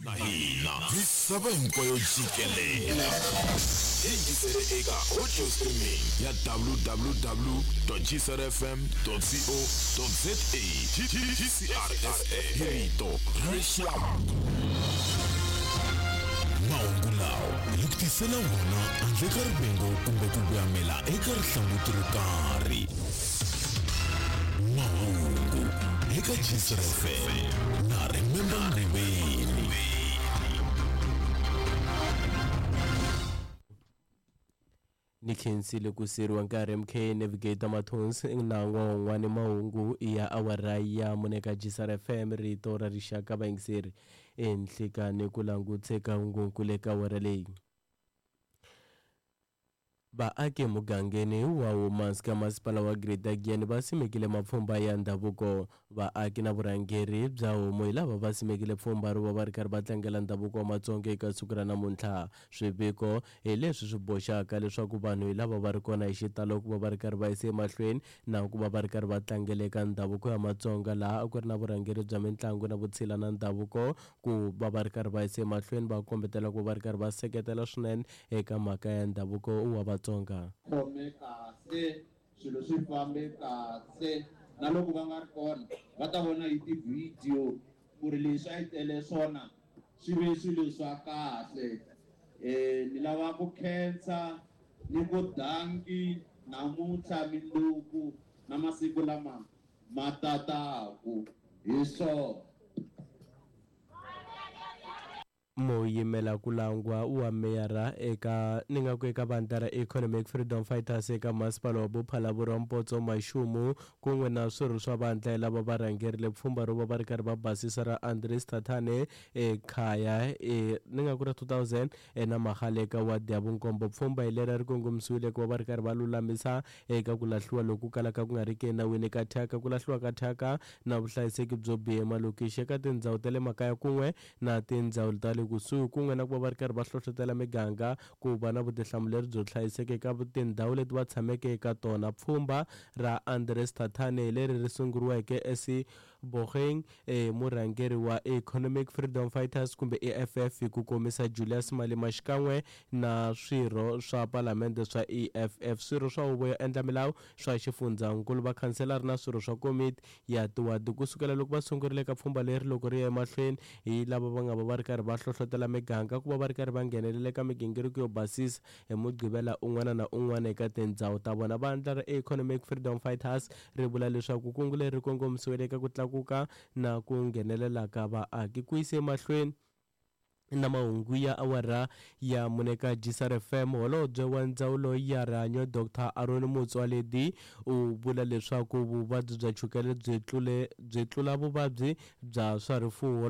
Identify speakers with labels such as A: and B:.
A: Na hina misava hinkwayo jikelele hi yingisele eka audio streaming ya www gcrfm co za gcrfm hi rito ra rixaka. Mahungu lawa hi ku tisela wona handle ka rivengo kumbe ku voyamela eka rihlanguti ro karhi. Mahungu eka Gcr FM na Remember Nguveni.
B: Ni khensile ku siriwa nkarhi MK Navigator Mathonsi na n'wan'wani mahungu ya awara ya mune ka Gisar FM rito ra rixaka vayingiseri enhlikani ku langutse ka hungunkulu eka awara leyi. Vaaki emugangeni wa Humansika ka masipala wa Greater Giyani va simekile mapfhumba ya ndhavuko. Vaaki na vurhangeri bya homu hi lava va simekile pfhumba ro va va ri karhi va tlangela ndhavuko wa Matsonga eka siku ra namuntlha. Swiviko hi leswi swi boxaka leswaku vanhu hi lava va ri kona hi xitalo ku va va ri karhi va yisa emahlweni na ku va va ri karhi va tlangela eka ndhavuko ya Matsonga laha a ku ri na vurhangeri bya mitlangu na vutshila na ndhavuko ku va va ri karhi va yisa emahlweni va kombetela ku va ri karhi va seketela swinene eka mhaka ya ndhavuko wa Vatsonga.
C: Khome kahle, swilo swi fambe kahle na loko va nga ri kona va ta vona hi tivhidiyo ku ri leswi a yi tele swona swi ve swilo swa kahle. Ni lava ku khensa ni ku danki namuntlha, mindzuku na masiku lama ma tataku hi swona.
B: Muyimela ku langwa wa meyara eka ni nga ku eka vandla ra Economic Freedom Fighters eka masipala wa Bophalaborwa Mpotso Mashumu kun'we na swirho swa vandla lava va rhangerile pfhumba ro va va ri karhi va basisa ra Andries Tatane ekhaya e ni nga ku ra 2000 na Magale eka wadi ya vunkombo. Pfhumba hi leri ri kongomisiwile ku va va ri karhi va lulamisa eka ku lahliwa loku kalaka ku nga ri ki enawini ka thyaka, ku lahliwa ka thyaka na vuhlayiseki byo biha emalokixi eka tindhawu ta le makaya kun'we na tindzawulo ta le kusuhi kun'we na ku va va ri karhi va hlohlotela miganga ku va na vutihlamuleri byo hlayiseka eka tindhawu leti va tshameke eka tona. Pfhumba ra Andries Tatane hi leri ri sunguriweke eSebogeng hi murhangeri wa Economic Freedom Fighters kumbe EFF hi ku komisa Julius Malema xikan'we na swirho swa palamende swa EFF, swirho swa huvo yo endla milawu swa xifundzankulu, vakhanselara na swirho swa komiti ya tiwadi. Ku sukela loko va sungurile eka pfhumba leri loko ri ya emahlweni hi lava va nga va va ri karhi va hlohlotela miganga ku va va ri karhi va nghenelela eka migingiriko yo basisa hi Mugqivela un'wana na un'wana eka tindhawu ta vona. Vandla ra Economic Freedom Fighters ri vula leswaku kungu leri ri kongomisiwile eka ku tlakuka na ku nghenelela ka vaaki ku yisa emahlweni na mahungu ya awara ya mune ka Gisar FM. Holobye wa Ndzawulo ya Rihanyo Dr Aaron Motsoaledi u vula leswaku vuvabyi bya chukele byi tlule byi tlula vuvabyi bya swa rifuwo.